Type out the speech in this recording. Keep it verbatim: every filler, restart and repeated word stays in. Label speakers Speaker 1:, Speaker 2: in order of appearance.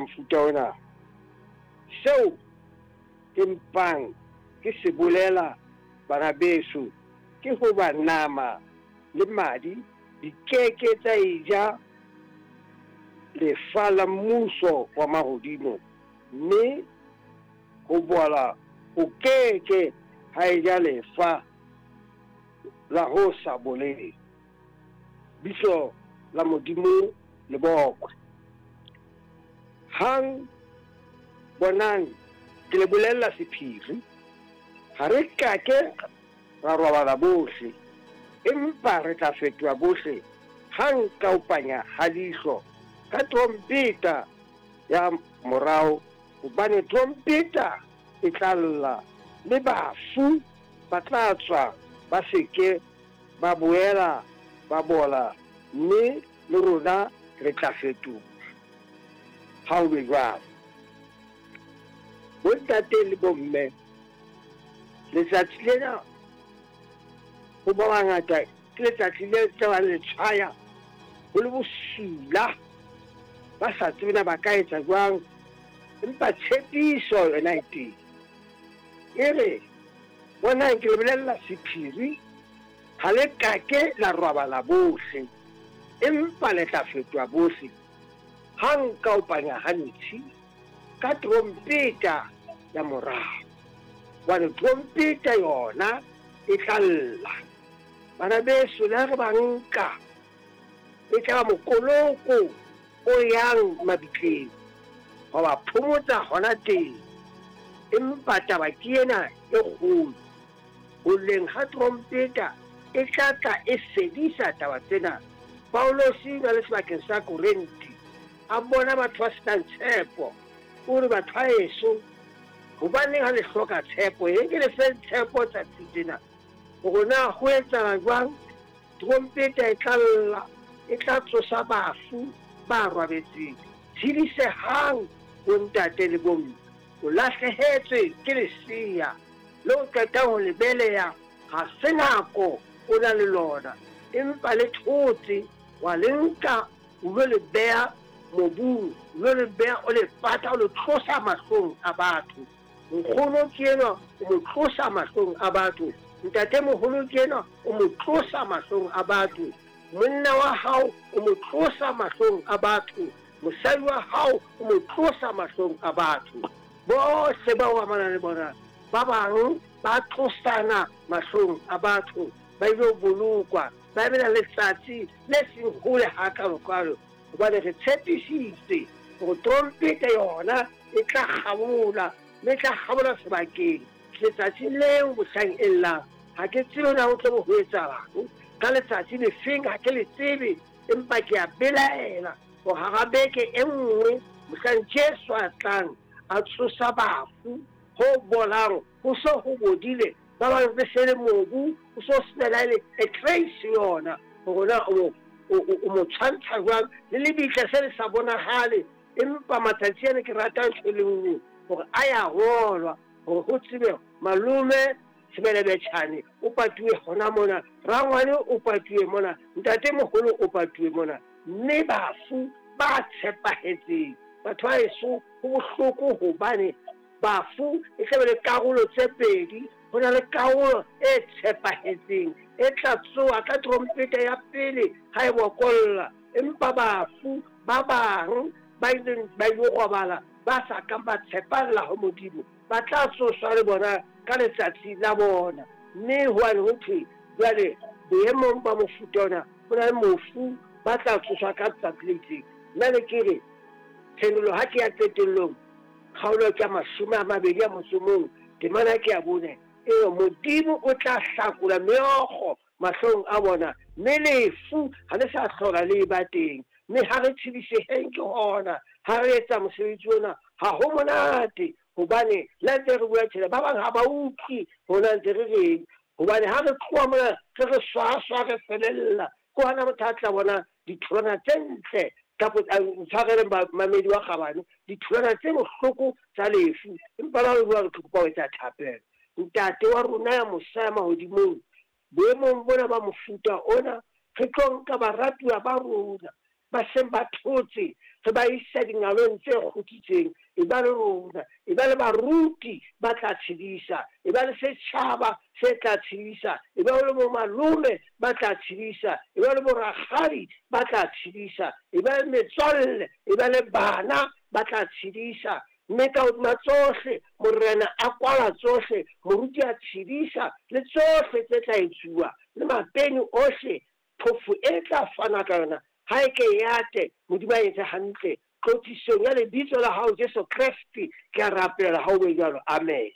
Speaker 1: Mofuta ona. Seo ke mpang ke se bolela, bana beso, ke hoba nama le madi di ke ke tsa eja lefa la mmuso wa mahodimo, mme ho bola ho ke ke ha eja lefa la ho sa boleng. Bitso la Modimo le bokwe. Hang bonang, ke le bolella sephiri, ha re ka ke ra robala bohle, empa re tla fetoha bohle hang ka ho panya ha leihlo, ka trompeta ya morao, hobane trompeta e tla lla, mme bafu ba tla tswa ba se ke ba boela ba bola, mme le rona re tla fetoha. Ha ho be jwalo. Bontate le bomme, letsatsi lena ho ba bangata ke letsatsi le tla ba le tshwaya ho le bosula, ba sa tsebe na ba ka etsa jwang, empa tshepiso yona e teng. E re, bonang, ke le bolella sephiri, ha le ka ke la robala bohle, empa le tla fetoha bohle hang ka ho panya ha ntshi, ka trompeta ya morao. Hobane trompeta yona e tla lla. Bana beso, le ha re ba nka, e tla ba mokoloko o yang mabitleng, ho ba phomotsa hona teng. Empa taba ke ena e kgolo, ho lleng ha trompeta e tla tla e fedisa taba tsena. Paulosi o na le sebakeng sa Korinthe, a bona batho ba senang tshepo. O re, batho ba heso, hobaneng ha le hloka tshepo? E ke le fe tshepo tsatsi tsena, hore na ho etsahala jwang. Trompeta e tla lla, e tla tsosa bafu ba robetseng. Tshedisehang bontate le bomme, o lahlehetswe ke lesea le o qetang ho le beleha, ha se nako o na le lona, empa le thotse, wa le nka o lo le beha mobung, o lo le beha o le pata, o le tlosa mahlong a batho. Nkgono ke enwa, o mo tlosa mahlong a batho. Ntatemoholo ke enwa, o mo tlosa mahlong a batho. Monna wa hao o mo tlosa mahlong a batho. Mosadi wa hao o mo tlosa mahlong a batho. Bohle ba o amanang le bona, ba bang ba tlosana mahlong a batho, ba ile ho bolokwa, ba emela letsatsi le seng hole hakalo-kalo, hobane re tshepisitse hore trompeta yona e tla kgabola, mme e tla kgabola sebakeng letsatsi leo mohlang e llang. Ha ke tsebe na ho tlo ho etsahalang ka letsatsi lefeng, ha ke le tsebe, empa ke a belaela hore hara beke e nngwe mohlang Jesu a tlang a tsosa bafu, ho bolang ho so ho bodile, ba bang re se le mobu, ho so sena le e trace yona hore na o o mo tshwantsha jwang le lebitla se le sa bonahale. Empa matsatsi ana ke rata ntho e le nngwe, hore a ya ngolwa hore ho tsebe malome Sebelebetjhane o patuwe hona mona, rangwane o patuwe mona, ntatemoholo o patuwe mona, mme bafu ba tshepahetseng. Batho ba heso, ho bohloko hobane bafu e tla be le karolo tse pedi. Ho na le karolo e tshepahetseng e tla tsoha ka trompeta ya pele ha e bokolla, empa bafu ba bang ba ileng ba ilo robala ba sa kang ba tshepalla ho Modimo ba tla tsoswa le bona ka letsatsi la bona. Mme hwane ho thwe jwale boemong ba mofuta ona ho na le mofu ba tla tsoswa ka letsatsi le itseng. Nna ne ke re tshenolo ha ke ya qetellong, kgaolo ke ya mashome a mabedi a motso o mong, temana ke ya bone, e Modimo o tla hlakola meokgo mahlong a bona, mme lefu ha le sa hlola le ba teng. Mme ha re tshediseheng ke hona, ha re etsa mosebetsi ona ha ho monate, hobane le ntse re bua tjena, ba bang ha ba utlwe hona ntse re reng, hobane ha re tloha mona re re swaswa re felella, ke hona motho a tla bona ditholwana tse ntle, kapa ntshwareleng mamedi wa kgabane, ditholwana tse bohloko tsa lefu. Empa ba re bua re kopa ho etsa thapelo. Ntate wa rona ya mosa ya mahodimong, boemong bona ba mofuta ona, re tlo nka baratuwa ba rona, ba seng ba thotse, re ba isa dingalong tse kgutsitseng. E ba le rona, e ba le baruti ba tla tshedisa, e ba le setjhaba se tla tshedisa, e ba le bo malome ba tla tshedisa, e ba le bo rakgadi ba tla tshedisa, e ba le metswalle, e ba le bana ba tla tshedisa. Mme ka hodima tsohle, Morena a kwala tsohle, moruti a tshedisa le tsohle tse tla etsuwa, le mapeni ohle, phofo e tla fana ka yona, ha e ke e ate, Modimo a etse hantle. Tlotlisong ya lebitso la hao Jesu Kreste, ke a rapela ha o be jwalo. Amen.